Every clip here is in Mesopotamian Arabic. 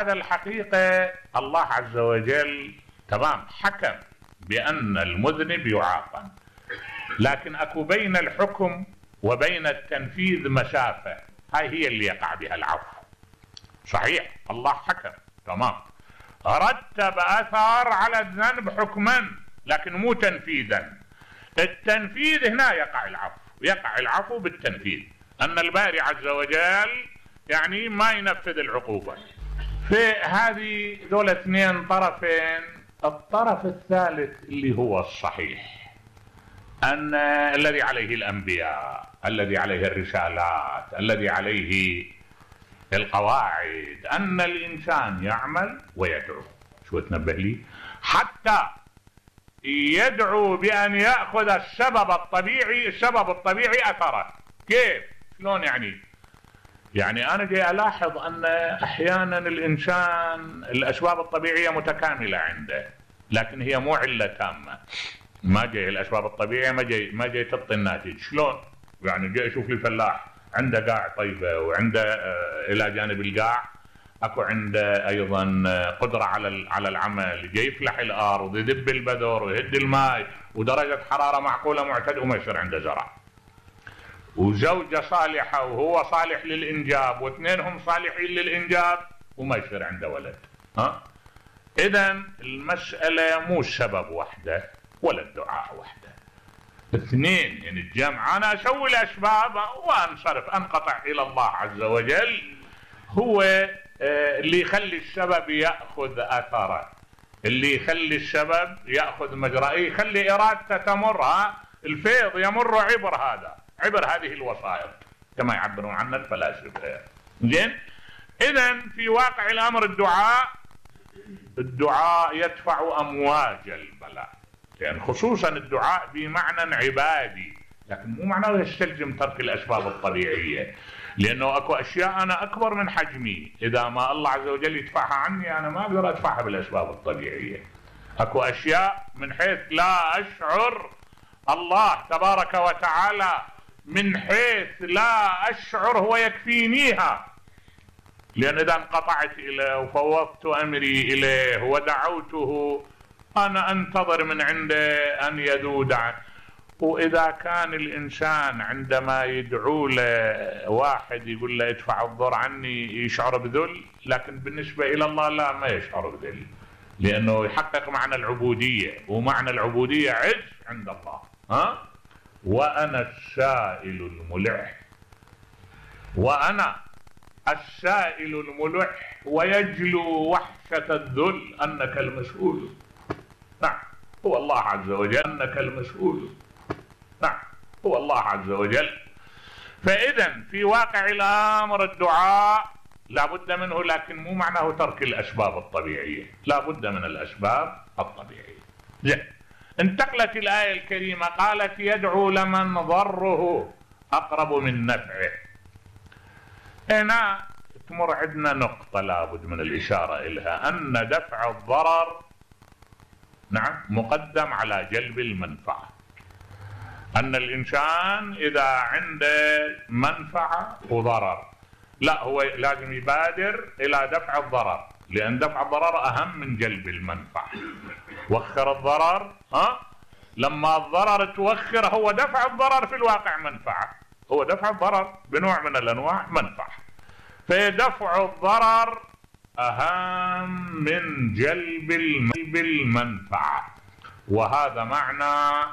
هذا الحقيقة الله عز وجل تمام حكم بأن المذنب يعاقب، لكن أكو بين الحكم وبين التنفيذ مسافة، هاي هي اللي يقع بها العفو. صحيح الله حكم تمام، رتب أثر على الذنب حكما لكن مو تنفيذا. التنفيذ هنا يقع العفو، يقع العفو بالتنفيذ، أن الباري عز وجل يعني ما ينفذ العقوبة. في هذه دول اثنين طرفين. الطرف الثالث اللي هو الصحيح، أن الذي عليه الأنبياء، الذي عليه الرسالات، الذي عليه القواعد، أن الإنسان يعمل ويدعو. شو تنبه لي؟ حتى يدعو بأن يأخذ السبب الطبيعي أثره. كيف؟ شلون يعني أنا جاي ألاحظ أن أحيانا الإنسان الأسباب الطبيعية متكاملة عنده، لكن هي مو علة تامة. ما جاي الأسباب الطبيعية ما جاي تعطي الناتج. شلون؟ يعني جاي أشوف لي فلاح عنده قاع طيبة، وعنده إلى جانب القاع أكو عنده أيضا قدرة على العمل، جاي يفلح الأرض، يذب البذور ويهد الماء ودرجة حرارة معقولة معتدلة، وما يصير عنده زرع. وزوجة صالحة وهو صالح للإنجاب، واثنينهم صالحين للإنجاب، وما يصير عنده ولد. إذن المسألة مو السبب وحده ولا الدعاء وحده، اثنين. يعني الجمع أنا أسوي الأسباب وأنصرف أنقطع إلى الله عز وجل، هو اللي يخلي السبب يأخذ أثره، اللي يخلي السبب يأخذ مجراه، يخلي إرادته تمر. الفيض يمر عبر هذه الوسائط كما يعبرون عنها الفلاسفة. زين. إذن في واقع الأمر الدعاء يدفع أمواج البلاء، يعني خصوصا الدعاء بمعنى عبادي، لكن مو معناه يستلزم ترك الأسباب الطبيعية، لأنه أكو أشياء أنا أكبر من حجمي، إذا ما الله عز وجل يدفعها عني أنا ما أقدر أدفعها بالأسباب الطبيعية. أكو أشياء من حيث لا أشعر الله تبارك وتعالى، من حيث لا أشعر هو يكفينيها، لأن إذا انقطعت إليه وفوضت أمري إليه ودعوته أنا أنتظر من عنده أن يذود عنه. وإذا كان الإنسان عندما يدعو له واحد يقول له ادفع الضر عني يشعر بذل، لكن بالنسبة إلى الله لا، ما يشعر بذل، لأنه يحقق معنى العبودية، ومعنى العبودية عز عند الله. وأنا السائل الملح ويجلو وحشة الذل أنك المسؤول. نعم هو الله عز وجل، أنك المسؤول. نعم هو الله عز وجل. فإذا في واقع الأمر الدعاء لا بد منه، لكن مو معناه ترك الأسباب الطبيعية، لا بد من الأسباب الطبيعية. زين. انتقلت الآية الكريمة قالت يدعو لمن ضره أقرب من نفعه. هنا تمر عندنا نقطة لابد من الإشارة إليها، أن دفع الضرر نعم مقدم على جلب المنفعة. أن الإنسان إذا عنده منفعة وضرر لا، هو لازم يبادر إلى دفع الضرر، لأن دفع الضرر أهم من جلب المنفعة. وخر الضرر، لما الضرر توخر، هو دفع الضرر في الواقع منفعة، هو دفع الضرر بنوع من الأنواع منفعة، فدفع الضرر أهم من جلب المنفعة. وهذا معنى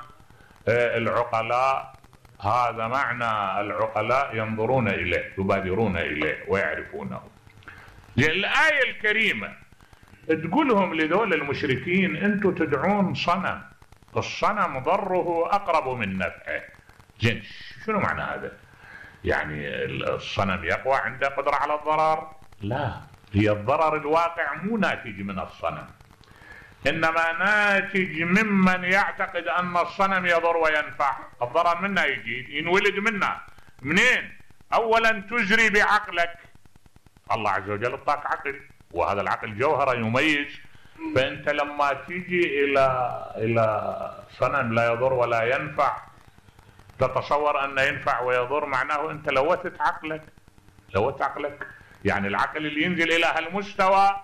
العقلاء، هذا معنى العقلاء ينظرون إليه، يبادرون إليه ويعرفونه. الآية الكريمة تقولهم لذول المشركين أنتم تدعون صنم، الصنم ضره أقرب من نفعه. زين، شنو معنى هذا؟ يعني الصنم يقوى عنده قدرة على الضرر؟ لا، هي الضرر الواقع مو ناتج من الصنم، إنما ناتج ممن يعتقد أن الصنم يضر وينفع. الضرر منه يجي، ينولد منه. منين؟ أولا تجري بعقلك، الله عز وجل اعطاك عقل، وهذا العقل جوهرة يميز. فأنت لما تيجي إلى صنم لا يضر ولا ينفع، تتصور أنه ينفع ويضر، معناه أنت لوثت عقلك. يعني العقل اللي ينزل إلى هالمستوى